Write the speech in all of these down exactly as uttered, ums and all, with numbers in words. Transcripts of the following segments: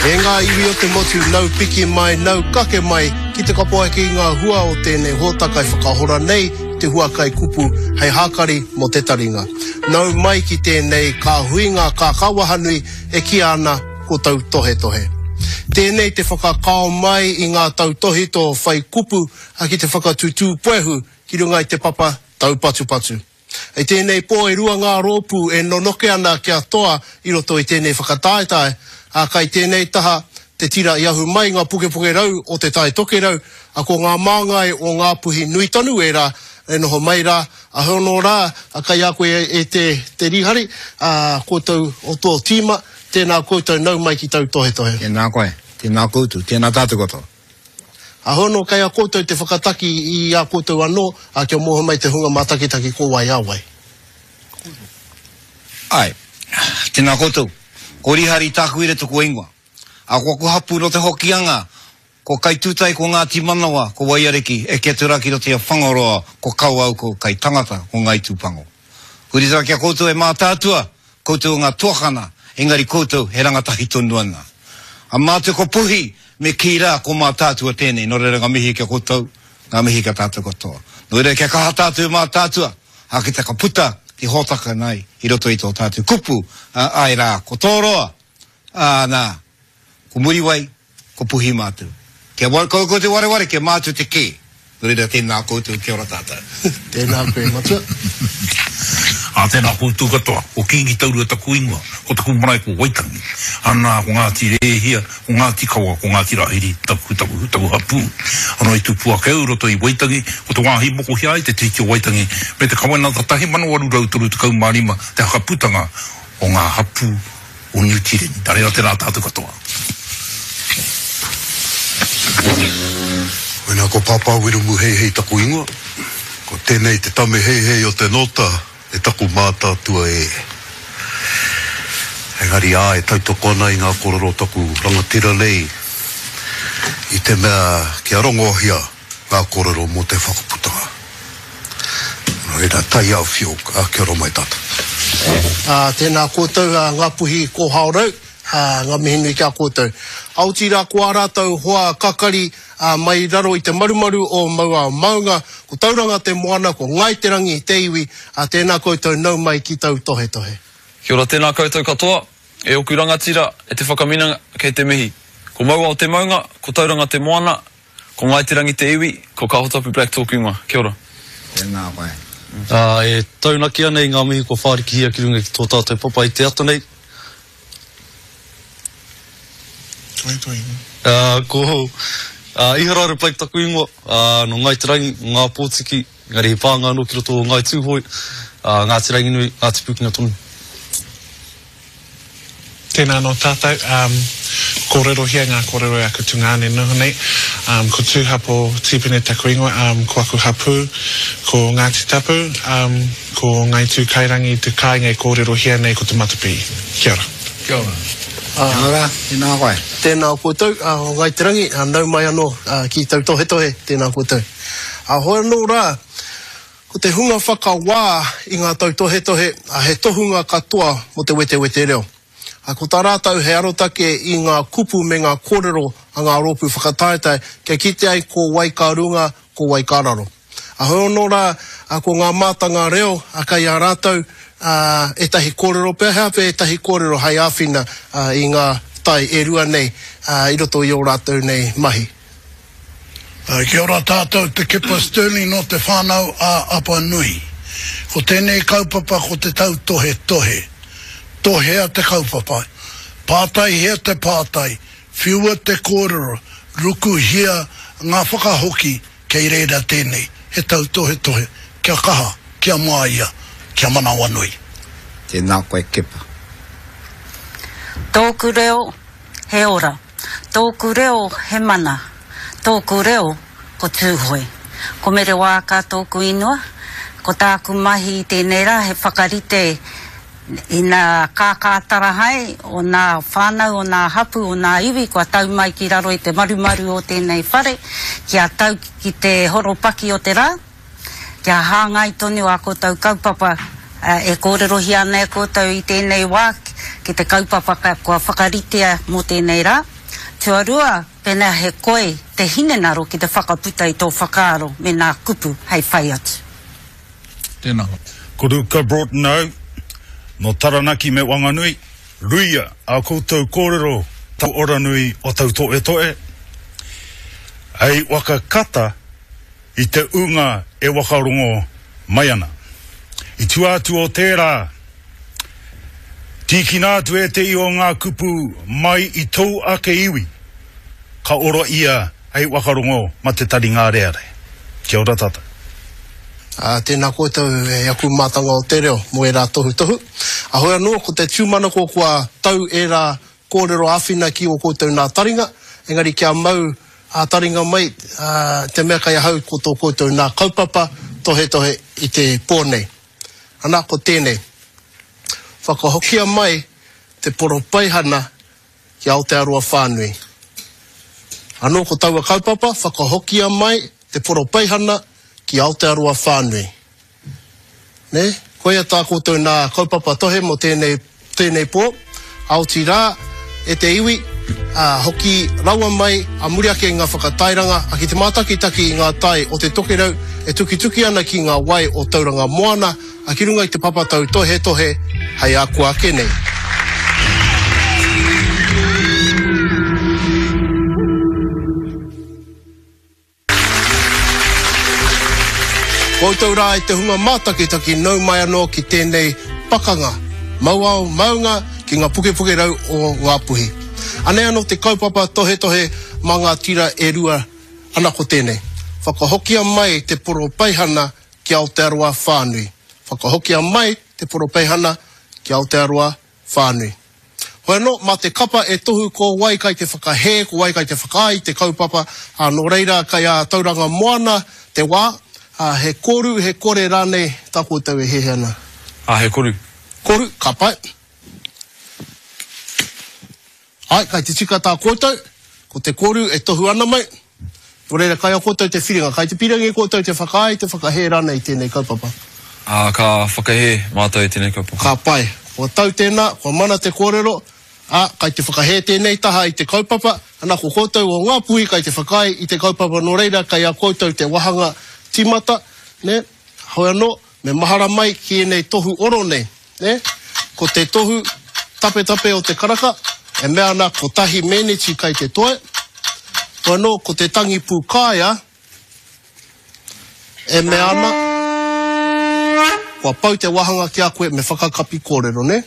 E ngā iwi o te motu, nau piki mai, nau kake mai, ki te kapo ake i ngā hua o tēnei hōtaka e whakahora nei te hua kai kupu hei hākari mō te taringa. Nau mai ki tēnei ka huinga kākāwahanui e kīia ana ko Tautohetohe. Tēnei te whakakao mai i ngā tautohito whai kupu ki te whakatutū puehu ki runga i te papa taupatupatu. I tēnei pō e rua ngā rōpū e nonoke ana kia toa i roto i tēnei whakataetae, ā, kai tēnei taha te tira i ahu mai ngā pukepuke rau o Te Tai Tokerau, ā, ko ngā māngai o Ngāpuhi nui tonu ērā e noho mai rā, ā, hono rā, ā, kai a koe e te, te Rīhari, ā, koutou o tō tīma, tēnā koutou nau mai ki tautohetohe. Tēnā koe, tēnā koutou, tēnā tātou katoa. Ā, hono kai a koutou te whakataki i a koutou anō, ā, kia mōhio mai te hunga mātakitaki ko wai a wai. Āe, tēnā koutou. Ko Rihari Tākuira taku ingoa. Ā, ko aku hapū nō Te Hokianga, ko Kaitūtai, ko Ngāti Manawa, ko Waiariki, eke atu rā ki roto i a Whangaroa, ko Kawau, ko Kaitangata, ko Ngāi Tūpango. Huri rā ki a koutou e Mātaatua, koutou ngā tuakana, engari koutou he rangatahi tonu ana. A mātou ko Puhi, me kī rā ko Mātaatua tēnei, nō reira ngā mihi ki a koutou, ngā mihi ki a tātou katoa. Nō reira kia kaha tātou e Mātaatua, ā, ki te ka puta te hōtaka nei i roto i tō tātou kupu, ā, āe rā, ko Tōroa, ā, nā, ko Muriwai, ko Puhi mātou. Kia wa, koukou te wareware, kia mātou te kē. Nō reira, tēnā koutou, kia ora tātou. Tēnā koe, Matua. Ā, tēnā koutou katoa. Ko Kīngi Taurua taku ingoa, ko taku marae ko Waitangi. Anā, ko Ngāti Rēhia, ko Ngāti Kawa, ko Ngāti Rāhiri taku, taku, taku hapū. Anō i tupu ake au i roto i Waitangi, ko te wāhi mokohia ai te Tiriti o Waitangi me te Kawenata tahi mano waru rau toru tekau mā rima te hakaputanga o ngā hapū o Niu Tīreni. Nā reira, tēnā tātou katoa. Koinā ko Pāpā Wiremu Heihei taku ingoa. Ko tēnei te tame heihei o te nōta e taku mātātua e. Engari ā, e tautoko ana i ngā kōrero o taku rangatira nei i te mea kia rongohia ngā kōrero mō te whakaputanga. Nō reira, taiāwhio, ā, kia ora mai tātou. Ā, tēnā koutou, ā, Ngāpuhi Kōhaorau, ā, ngā mihi nui ki a koutou. Ā, otirā ko ā rātou hoa kakari, ā, mai raro i te marumaru o Mauao Maunga, ko Tauranga te moana, ko Ngāi Te Rangi te iwi, ā, tēnā koutou nau mai ki tautohetohe. Kia ora tēnā koutou katoa, e oku rangatira, e te whakaminenga, kei te mihi. Ko Mauao te maunga, ko Tauranga te moana, ko Ngāi Te Rangi te iwi, ko Kahotapu Black tōku ingoa. Kia ora. Tēnā koe. Ā, e taunaki ana i ngā mihi kua whārikihia ki runga ki tō tātou papa i te ata nei. Ā, ko Iharaira Blake taku ingoa, ā, nō Ngāi Te Rangi, nō Ngā Pōtiki, engari he pānga anō ki roto o Ngāi Tūhoe, ā, Ngāti Ranginui, Ngāti Pūkenga tonu. Tēnā anō tātou, um, kōrerohia ngā kōrero e aku tungāne noho nei. Um, ko Tūhapo Tīpene taku ingoa, um, ko aku hapū, ko Ngāti Tapu, um, ko Ngāi Tūkairangi te kāinga e kōrerohia nei ko Te Matapī. Kia ora. Kia ora. Kia ora, tēnā koe. Tēnā koutou, o Ngāi Te Rangi, nau mai anō ki tautohetohe, tēnā koutou. Hoi anō rā, ko te hunga whakawā i ngā tautohetohe, he tohunga katoa mō te wetewete reo. Ko tā rātou he arotake i ngā kupu me ngā kōrero a ngā rōpū whakataetae kia kite ai ko wai ka runga, ko wai ka raro. Hoi anō rā, ko ngā mātanga reo kei a rātou ētahi kōrero pea, he aha pea ētahi kōrero hei āwhina i ngā tae e rua nei i roto i ō rātou nei mahi. Kia ora tātou, Te Kepa Stirling nō Te Whānau a Apanui. Ko tēnei kaupapa ko te tautohetohe. Tohea te kaupapa, pātaihia te pātai, whiua te kōrero, rukuhia ngā whakahoki kei reira tēnei, he tautohetohe, kia kaha, kia māia, kia manawanui. Tēnā koe Kepa. Tōku reo, he ora. Tōku reo, he mana. Tōku reo, ko Tūhoe. Ko Mere Waaka tōku ingoa. Ko tāku mahi i tēnei rā he whakarite i nā kākātarahae o nā whānau, o nā hapū, o nā iwi kua tau mai ki raro i te marumaru o tēnei whare kia tau ki te horopaki o te rā. Kia hāngai tonu ā koutou kaupapa e kōrerohia ana e koutou i tēnei wā ki ki te kaupapa kua whakaritea mō tēnei rā. Tuarua, pēnā he koi te hinengaro ki te whakaputa i tō whakaaro me nā kupu hei whai atu. Tēnā. Ko Ruka Broughton au, no Taranaki me Wanganui, ruia a koutou kōrero tau oranui o tau toetoe, hei waka kata i te unga e wakarongo mai ana. I tua atu o tērā, tīkina atu e te i o ngā kupu mai i tōu ake iwi, ka ora ia hei wakarongo ma te tari ngā reare. Kia ora tātou. Uh, tēnā koutou e aku mātanga o te reo mō ērā tohutohu. A hoi anō, ko te tūmanako kua tau ērā kōrero āwhina ki o koutou nā taringa, engari kia mau a taringa mai uh, te mea kai ahau ko tō koutou nā kaupapa tohetohe i te pō nei. Ana ko tēnei. Whakahokia mai te poropeihana ki Aotearoa whānui. Anō ko taua kaupapa, whakahokia mai te poropeihana ki Aotearoa whānui. Ne? Koia tā koutou nā kaupapa tohe mō tēnei, tēnei pō, aoti rā e te iwi, a, hoki rawa mai a muri ake i ngā whakatairanga, a ki te mātakitaki i ngā tai o te tokerau e tukituki ana ki ngā wai o Tauranga Moana, a ki runga i te papatau tohe tohe hei ako ake nei. Koutou rā i te hunga mātakitaki nau mai anō ki tēnei pakanga, mauao maunga ki ngā pukepuke rau o Ngāpuhi. Anei anō te kaupapa tohetohe mā ngā tira e rua ana ko tēnei. Whakahokia mai te poropeihana ki Aotearoa whānui. Whakahokia mai te poropeihana ki Aotearoa whānui. Hoi anō, mā te kapa e tohu ko wai kai te whakahē, ko wai kai te whakaai te kaupapa, a nō reira kai a Tauranga Moana te wā, a he koru, he kore rānei tā koutou e hehe ana. A he koru. Koru, ka pai. Ai, kai te tika tā koutou, ko te koru e tohu ana mai. Nō reira, kai a koutou te whiringa, kai te pirangi koutou te whakaai, te whakahē rānei tēnei kaupapa. A, ka whakahē mātou i tēnei kaupapa. Ka pai. Kua tau tēnā, kua mana te kōrero, a, kai te whakahē tēnei taha i te kaupapa, ana ko koutou o Ngāpuhi kai te whakaai i te kaupapa, nō reira, kai a koutou te wahanga timata, ne? Hoi anō, me mahara mai ki ēnei tohu oro nei, ne? Ko te tohu tapetape o te karaka, e mea ana kotahi meneti kai te toe. Hoi anō, ko te tangi pūkaea, e mea ana, kua pau te wahanga ki a koe me whakakapi kōrero, ne?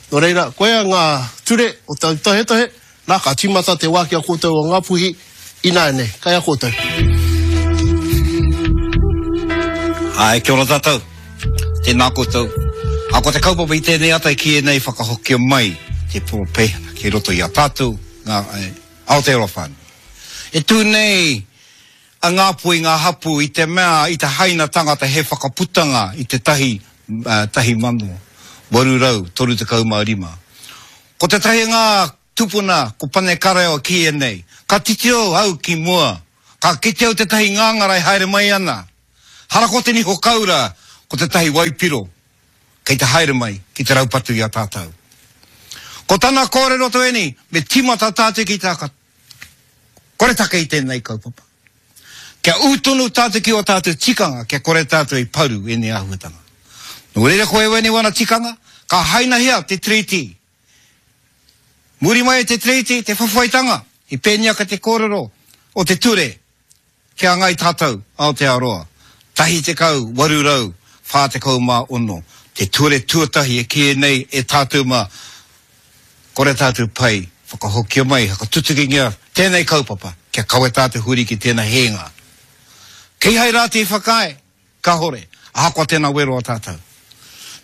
Nō reira, koea ngā ture o te tohetohe, nā ka timata te wā ki a koutou o Ngāpuhi, ināianei, kai a koutou. Ai, kia ora tātou. Tēnā koutou. A ko te kaupapa i tēnei ata ki ēnei whakahokia mai te poropeihana ki roto i a tātou ngā Aotearoa whānui. E tū nei a Ngāpuhi ngā hapu i te mea i te haina tangata he whakaputanga i te tahi, uh, tahi mano, waru rau, toru tekau mā rima. Ko te tahi ngā tupuna ko Pane Kareo ki ēnei. Ka titiro au ki mua, ka kite au te tahi ngāngara e haere mai ana. Hara ko te niho kaura, ko te tahi waipiro, kei te haere mai ki te raupatu i a tātou. Ko tana kōrero to eni, me timata tātou ki tā ka kore take i tēnei kaupapa. Kia ūtonu tātou ki o tātou tikanga, kia kore tātou i paru ēnei āhuatanga. Nō reira ko e wene wana tikanga, ka hainahia te treaty. Muri mai e te treaty, te whawhaitanga, i pēnia ka te kōrero o te ture, kia ngai tātou Aotearoa. Tahi tekau, waru rau, whā tekau mā ono. Te ture tuatahi e ki nei e tātou mā, kore tātou pai, whakahokia mai, whakatutukingia tēnei kaupapa, kia kawe tātou huri ki tēnā hēnga. Kei hai rā te whakaae, kahore, ahakoa tēnā wero a tātou.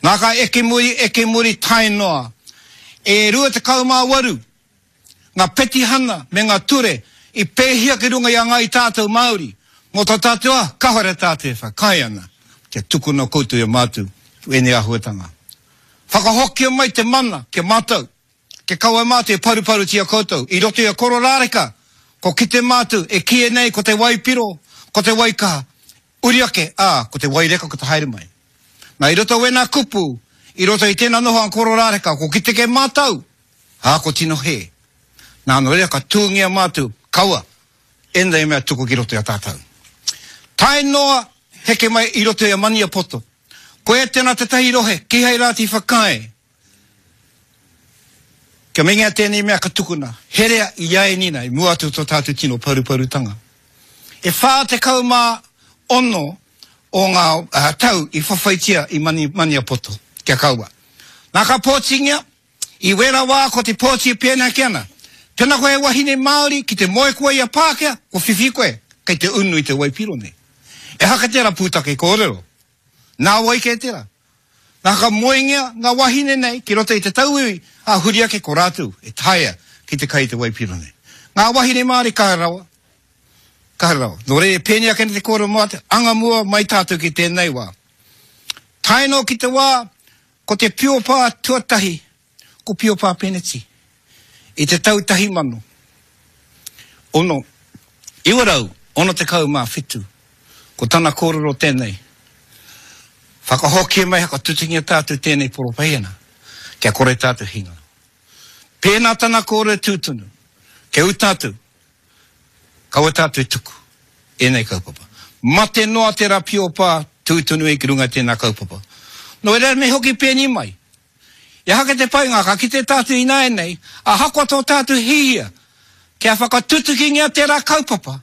Nā ka eke muri, eke muri tae noa, e rua tekau mā waru, ngā petihana me ngā ture, i pēhia ki runga i a ngai tātou Māori, mō tā tātou a, kahore tātou e whakaae ana, kia tukuna koutou i a mātou, ēnei āhuatanga. Whakahokia mai te mana, kia mātou, kia kaua mātou e paruparutia koutou, i roto i a kororāreka, ko kite mātou e kīia nei ko te waipiro, ko te waikaha, uri ake, ā, ko te waireka ko te haere mai. Nā i roto wēnā kupu, I roto i tēnā noho ang kororāreka, ko kite ke mātau, ā, ko tino hē. Nā, nō reira ka tūngia mātou, kaua, ēnei mea tuku ki roto i a tātou. Tae noa, heke mai i roto i a Maniapoto. Koe tēnā tētahi rohe, kihai rā te whakaae. Kia meinga tēnei mea ka tukuna, herea i a e nina, i mua atu tō tātou tino paruparutanga. E whā tekau mā ono o ngā uh, tau i whawhaitia i Mani, Maniapoto, kia kaua. Nā ka pōtingia, i wera wā ko te pōti e pēnā ki ana. Tēnā koe e wahine Māori ki te moe koe i a Pākehā, ko whiwhi koe, kei te unu i te waipiro nei. E haka tērā pūtake kōrero. Nā wai kē tērā. Nā ka moengia ngā wahine nei ki roto i te tauiwi, a huri ake ko rātou e taea ki te kai i te waipiro nei. Ngā wahine Māori kaha rawa. Kaha rawa. Nō reira, pēnei ake nei te kōrero mā te anga mua mai tātou ki tēnei wā. Tae noa ki te wā, ko te piopā tuatahi, ko Piopā Peneti. I te tau tahi mano, ono, iwa rau, ono tekau mā whitu, ko tana kōrero tēnei. Whakahokia mai hakatutingia tātou tēnei poropehena, kia kore tātou hinga. Pēnā tana kōrero tūtunu, kia ū tātou, kaua tātou tuku, ēnei kaupapa. Mate noa te rā piopā tūtunu e ki runga tēnā kaupapa. Nō reira me hoki pēni mai. I haka te painga, ka kite tātou ināianei, ahakoa tō tātou hihia, kia whakatutukingia tērā kaupapa,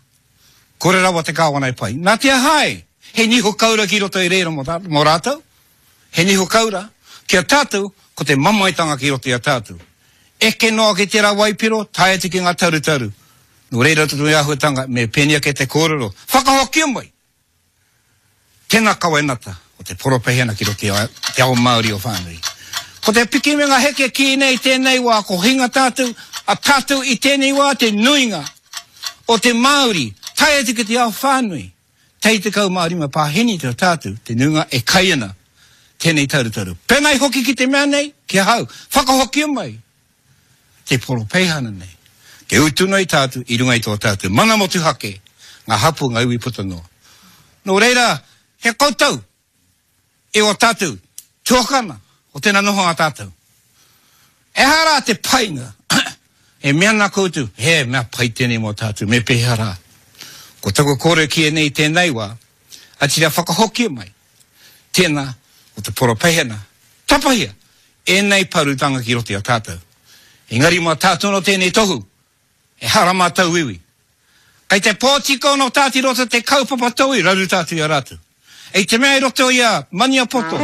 kore rawa te kāwana e pai. Nā te aha e, he niho kaura ki roto i reira mō tā-, mō rātou, he niho kaura, kia tātou, ko te mamaetanga ki roto i a tātou. Eke noa ki tērā waipiro, tae atu ki ngā tarutaru. Nō reira tō āhuatanga, me pēnei ake te kōrero, whakahokia mai! Tēnā kawenata o te poropehena ki roto i a, te ao Māori o whānui. Ko te piki me ngā heke ki nei tēnei wā, ko hinga tātou, a tātou i tēnei wā te nuinga o te Māori, tae atu ki te ao whānui. Tei tekau mā rima pāheni te tātou, te nuinga e kai ana tēnei tarutaru. Pēnei hoki ki te mea nei, ki ahau, whakahokia mai te poropeihana nei. Ke utu nei tātou i runga i tō tātou. Mana motuhake, ngā hapu ngā iwi puta noa. Nō reira, he koutou e o tātou, tuakana, o tēnā noho ngā tātou. Ehara te painga, e mea nā koutou, he mea pai tēnei mō tātou, me pēhea rā. Ko taku kōrero ki e nei tēnei wā, atira whakahokia mai, tēnā o te poropeihana, tapahia, ēnei parutanga ki roto i a tātou. Engari mā tātou no tēnei tohu, e hara mā tauiwi. Kei te pōtiko no tāti roto te kaupapa tauiwi, raru tātou i a rātou. E te mea i roto i a Maniapoto,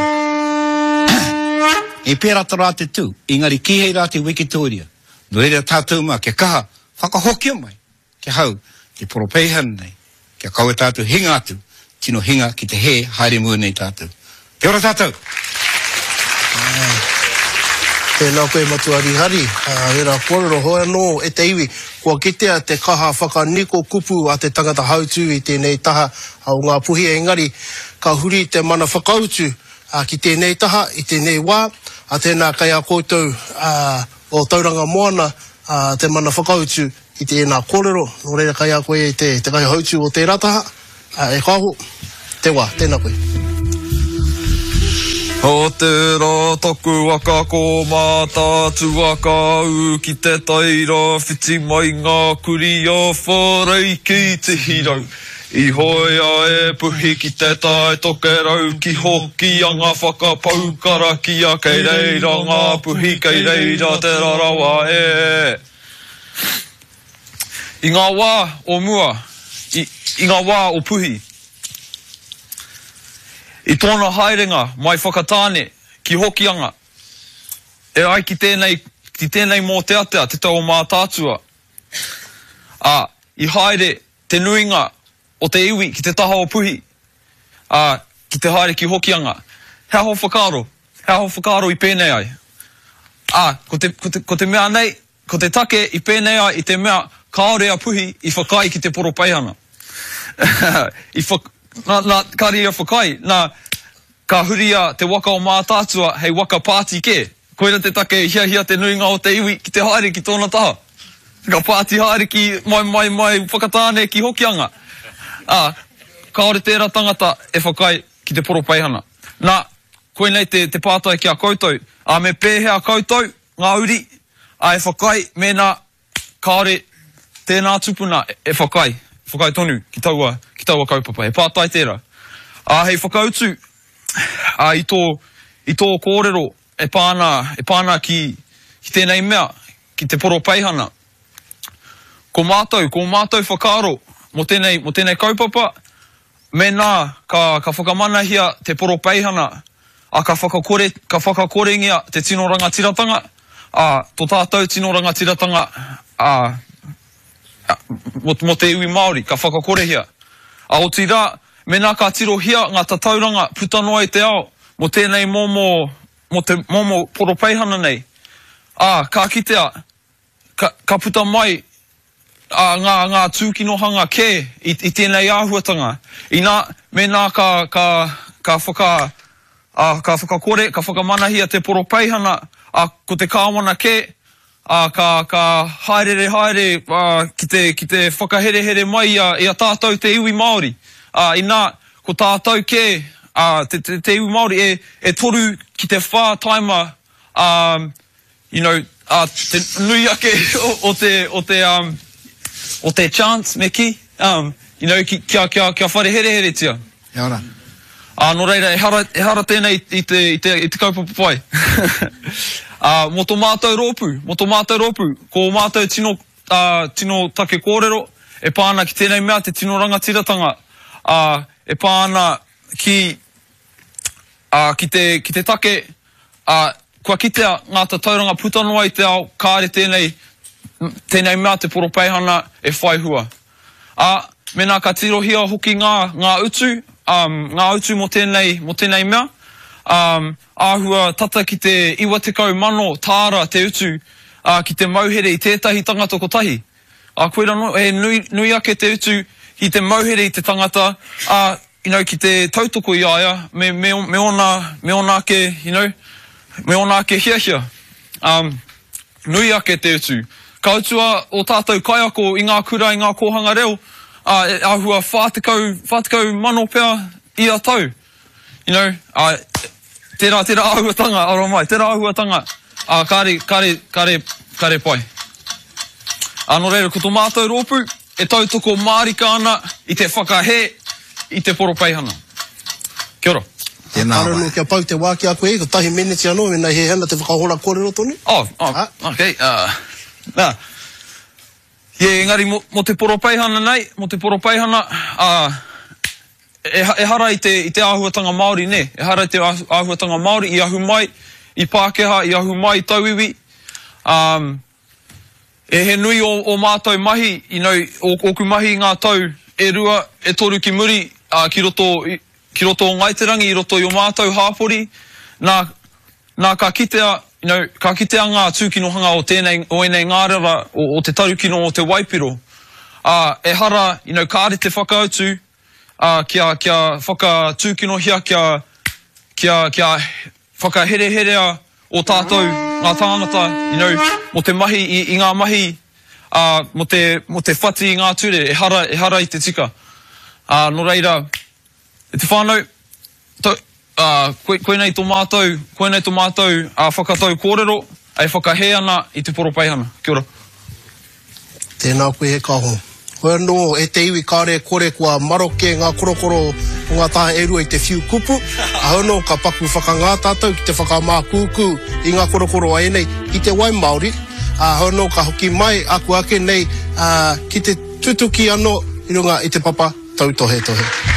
e pērā tā rātou tū, engari kīhei rā te Wikitoria. Nō reira tātou mā, kia kaha, whakahokia mai, kia hau, te poropeihana nei, kia kaua tātou hinga atu, tino hinga ki te hē, haere mua nei tātou. Kia ora tātou! Tēnā koe Matua Rihari, hera kōrero hoi anō e te iwi, kua kitea te kaha whakaniko kupu a te tangata hautū i tēnei taha o ngā puhi engari, ka huri te mana whakautu ki tēnei taha i tēnei wā, a tēnā kai a koutou o Tauranga Moana te mana whakautu i tēnā kōrero, nō reira kai a koe te, te kai hautū o tērā taha, e kāho, te wā, tēnā koe. O te rā taku waka ko Mātaatua ka ū ki te taira whiti mai ngā kuri a whārei ki te hirau. I hoea e puhi ki te tae tokerau ki Hokianga whakapau karakia kei reira ngā puhi kei reira te rarawa e. I ngā wā o mua, i, i ngā wā o Puhi, i tōna haerenga mai Whakatāne ki Hokianga, e ai ki tēnei, ki tēnei mōteatea te tau o Mātaatua. Ā, i haere te nuinga o te iwi ki te taha o Puhi, ā, ki te haere ki Hokianga. He aho whakaaro, he aho whakaaro i pēnei ai. Ā, ko te, ko te, ko te mea nei, ko te take i pēnei ai i te mea kāore a Puhi i whakaae ki te poropeihana. I whak-, nā, nā, kāre ia whakaae, nā, ka huria te waka o Mātaatua hei waka pāti kē. Koira te take i hiahia te nuinga o te iwi ki te haere ki tōna taha. Ka pāti haere ki mai, mai, mai Whakatāne ki Hokianga. Ā, kāore tērā tangata e whakaae ki te poropeihana. Nā, koinei te, te pātai ki a koutou. Ā, me pēhea koutou, ngā uri, ā, e whakaae mēnā kāore tēnā tupuna e whakaae, whakaae tonu ki taua, ki taua kaupapa. He pātai tērā. Ā, hei whakautu, ā, i tō, i tō kōrero e pā ana, e pā ana ki, ki tēnei mea, ki te poropeihana. Ko mātou, ko ō mātou whakaaro mō tēnei, mō tēnei kaupapa, mēnā ka, ka whakamanahia te poropeihana, ā, ka whakakore, ka whakakorengia te tino rangatiratanga, ā, tō tātou tino rangatiratanga, ā, mō, mō te iwi Māori, ka whakakorehia. Ā, otirā, mēnā ka tirohia ngā tatauranga puta noa i te ao mō tēnei momo, mō te momo poropeihana nei, ā, ka kitea, ka, ka puta mai, ā, ngā, ngā tūkinohanga kē i, i tēnei āhuatanga. Inā, mēnā ka, ka, ka whaka, ā, ka whakakore, ka whakamanahia te poropeihana, ā, ko te kāwana kē, ā, ka, ka haereere haere, ā, ki te, ki te whakaherehere mai i a, i a tātou te iwi Māori. Ā, inā, ko tātou kē, ā, te, te, te iwi Māori e, e toru ki te whā taima, ā, you know, ā, te nui ake o, o te, o te, um, o te chance, me kī, um, you know, ki, kia, kia, kia whare hereheretia. Kia ora. Ā, nō reira, ehara, ehara tēnei i te, i te, i te kaupapa pai. Ā, mō tō mātou rōpū, mō tō mātou rōpū, ko ō mātou tino, ā, tino take kōrero e pā ana ki tēnei mea, te tino rangatiratanga, ā, e pā ana ki, ā, ki te, ki te take, ā, kua kitea ngā tatauranga puta noa i te ao, kāre tēnei, tēnei mea te poropeihana e whai hua. Ā, mēnā ka tirohia hoki ngā, ngā utu, ā, ngā utu mō tēnei, mō tēnei mea, ā, āhua tata ki te iwa tekau mano tāra te utu, ā, ki te mauhere i tētahi tangata kotahi. Ā, koirā anō, he nui, nui ake te utu ki te mauhere i te tangata, ā, you know, ki te tautoko i a ia me, me, me ōna, me ōna ake, you know, me ōna ake hiahia. Ā, nui ake te utu. Ka utua ō tātou kaiako i ngā kura, i ngā kōhanga reo, ā, e āhua whā tekau, whā tekau mano pea ia tau. You know, ā, tērā, tērā āhuatanga, aro mai, tērā āhuatanga, ā, kāre, kāre, kāre, kāre pai. Ā, nō reira, ko tō mātou rōpū e tautoko mārika ana i te whakahē i te poropeihana. Kia ora. Tēnā Kāre wā. anō kia pau te wā ki a koe, kotahi meneti anō, mēnā he hana te whakahora kōrero tonu. Oh, oh, okay, uh, nā. Yeah, engari mō, mō te poropeihana nei, mō te poropeihana, uh, ehara i te, i te āhuatanga Māori, nē. Ehara i te āhuatanga Māori i ahu mai i Pākehā, i ahu mai i tauiwi. Um, e he nui o, o mātou mahi, you know, o, ōku mahi i ngā tau e rua, e toru ki muri, uh, ki roto, ki roto o Ngāi Te Rangi, i roto i o mātou hāpori, nā, nā ka kitea, you know, ka kitea ngā tūkinohanga o tēnei, o ēnei ngārara, o, o te tarukino o te waipiro. Ā, ehara, you know, kāre te whakautu, ā, kia, kia whakatūkinohia, kia, kia, kia whakahereherea ō tātou, ngā tāngata, you know, mō te mahi i, i ngā mahi, ā, mō te, mō te whati i ngā ture, ehara, ehara i te tika. Ā, nō reira, e te whānau, to, ā, koe, koinei tō mātou, koinei tō mātou, ā, whakatau kōrero, e whakahē ana i te poropeihana. Kia ora. Tēnā koe e Kaho. Hoi anō, e te iwi kāre e kore kua maroke ngā korokoro o ngā taha e rua i te whiu kupu, ā anō ka paku whakangā tātou ki te whakamākūkū i ngā korokoro a ēnei ki te wai Māori, ā, hoi anō ka hoki mai aku ake nei, ā, ki te tutuki anō i runga i te papa tautohetohe.